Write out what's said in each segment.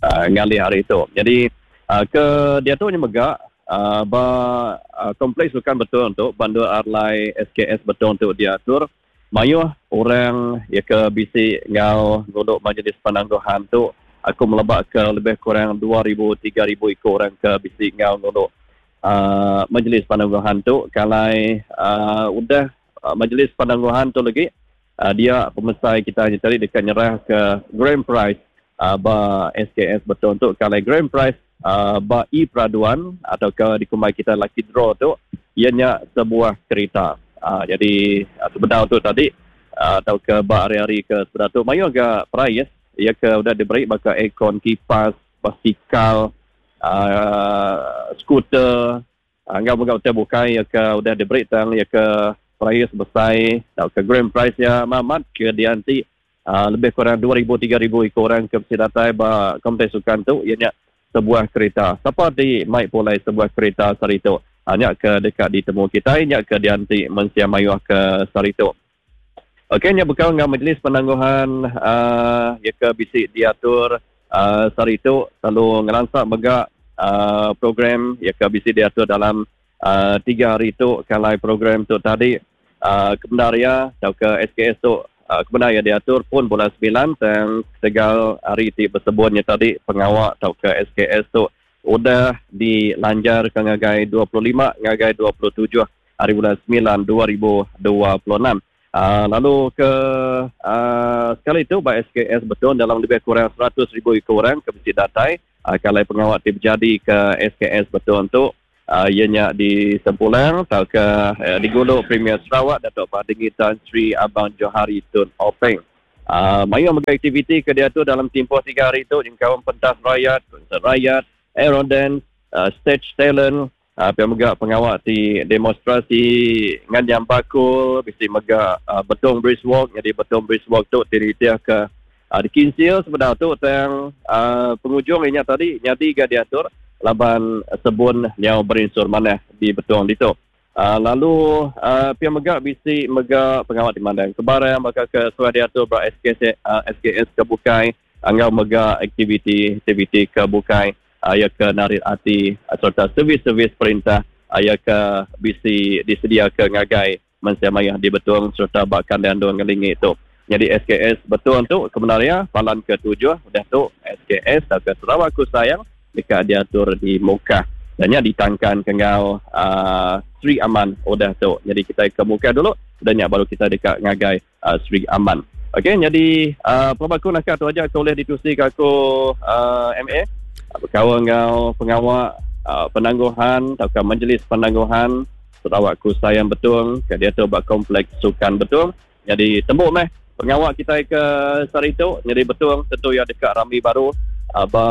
Ngalih hari tu. Nyadi ke diatu nya mega ba Kompleks Sukan Betong tu ba endur alai SKS Betong tu diatur mayuh orang iya ke bisi enggau ngulu majlis penangguhan tu aku meleba ke lebih kurang 2000 3000 iku orang ke bisi enggau ngulu majlis penangguhan tu ke alai udah majlis penangguhan tu lagi Dia pemesai kita nya tadi deka nyerahka grand prize ba SKS Betong tu ke alai grand prize ba e-peraduan atauka dikumbai kita lucky draw tu iya nya sebuah kerita. Jadi sebedau tu tadi tauka ba hari-hari ke sebedau tu mayuh ga prize iya ke udah diberi baka aircon, kipas, basikal, skuter Enggau mega utai bukai iya ke udah diberi tang iya ke perais besai tauka grand prize iya amat ke dianti lebih kurang 2000 3000 iku orang ke bisi datai ba kompleks sukan tu iya nya sebuah kerita. Sapa ti mai pulai sebuah kerita sehari tu? Nya ke deka ditemu kitai nya ke dianti mensia mayuh ke sehari tu. Okey nya bekau enggau majlis penangguhan uhh iya ke bisi diatur uhh sehari tu lalu ngelansa mega uhh program iya ke bisi diatur dalam uhh tiga hari tu ke alai program tu tadi uhh kebendar iya tauka SKS tu uhh kebendar iya diatur pun bulan semilan tang ketegal hari ti besebun nya tadi pengawa tauka SKS tu udah dilanjarka ngagai 25 ngagai 27 hari bulan semilan 2026. Lalu ke uh, sekali tu ba SKS Betong dalam lebih kurang 100,000 iku orang ke bisi datai uh, ke alai pengawa ti bejadi ke SKS Betong tu uh, iya nya di Sempulang tauka uh, digulu Premier Sarawak Datuk Patinggi Tan Sri Abang Johari Tun Openg. Mayuh mega aktiviti ke diatur dalam timpuh tiga hari tu nyengkaum pentas rayat, konsert rayat, aerodance, stage talent, pia mega pengawa ti demonstrasi nganyam bakul, bisi mega Betong Bridge Walk. Nyadi Betong Bridge Walk tu ti nitihka dikinsil sebedau tu tang pengujung iya nya tadi nyadi ga diatur laban sebun nyau berinsur manah di Betong ditu. Lalu pia mega bisi mega pengawa ti mandang ke barang baka ke suah diatur ba SKS SKS ke bukai enggau mega aktiviti-aktiviti ke bukai iya ke narit ati sereta servis-servis perintah iya ke bisi disediaka ngagai mensia mayuh di Betong sereta ba kandang endur ngelingi tu. Nyadi SKS Betong tu kebendar iya palan ke tujuh udah tu SKS tauka Sarawak Ku Sayang deka diatur di Mukah. Dan nya ditangkan ke enggau uh, Sri Aman udah tu. Nyadi kita ke Mukah dulu, udah nya baru kita deka ngagai uh, Sri Aman. Okey, nyadi uh, pelaba aku naka tu aja ke ulih ditusi ke aku uh, MA bekaul enggau pengawa uh, penangguhan tauka majlis penangguhan Sarawak Ku Sayang Betong ke diatur ba Kompleks Sukan Betong. Nyadi tembu meh pengawa kitai ke sehari tu nyadi Betong tentu iya deka rami baru ba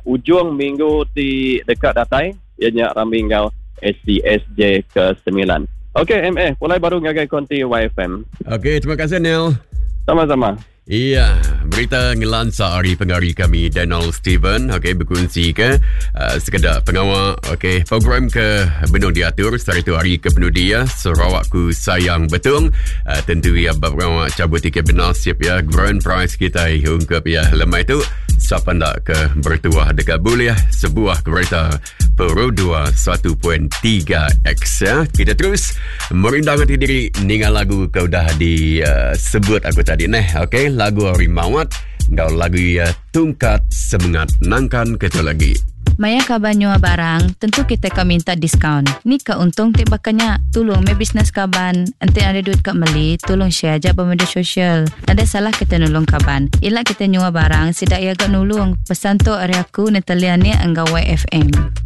ujung minggu ti deka datai iya nya rami enggau SCSJ ke semilan. Okey MA pulai baru ngagai konti YFM. Okey terima kasih Neil. Sama-sama. Iya, berita ngelansa ari pengari kami Daniel Steven, okey bekunsi ke uh, sekeda pengawa okey program ke benung diatur sehari tu hari ke penudi ya Sarawakku Sayang Betong uh, tentu ya pengawa cabut tiket bernasib ya grand prize kita ungkup ya lemai tu siapa ndak ke bertuah dekat boleh sebuah kereta Peru 2 1.3X ya. Kita terus merindang hati diri ninga lagu ke udah disebut eh, uh, aku tadi neh. Okey, lagu Ari Mawat enggau lagu ya Tungkat Semengat nangkan kita lagi. Maya kaban nyua barang, tentu kita ka minta diskaun. Ni ka untung ti baka nya. Tulung meh bisnes kaban. Enti nadai duit ka meli, tulung share aja ba media sosial. Nadai salah kita nulung kaban. Ila kita nyua barang, sida iya ga nulung. Pesan tu ari aku Natalia Nik enggau YFM.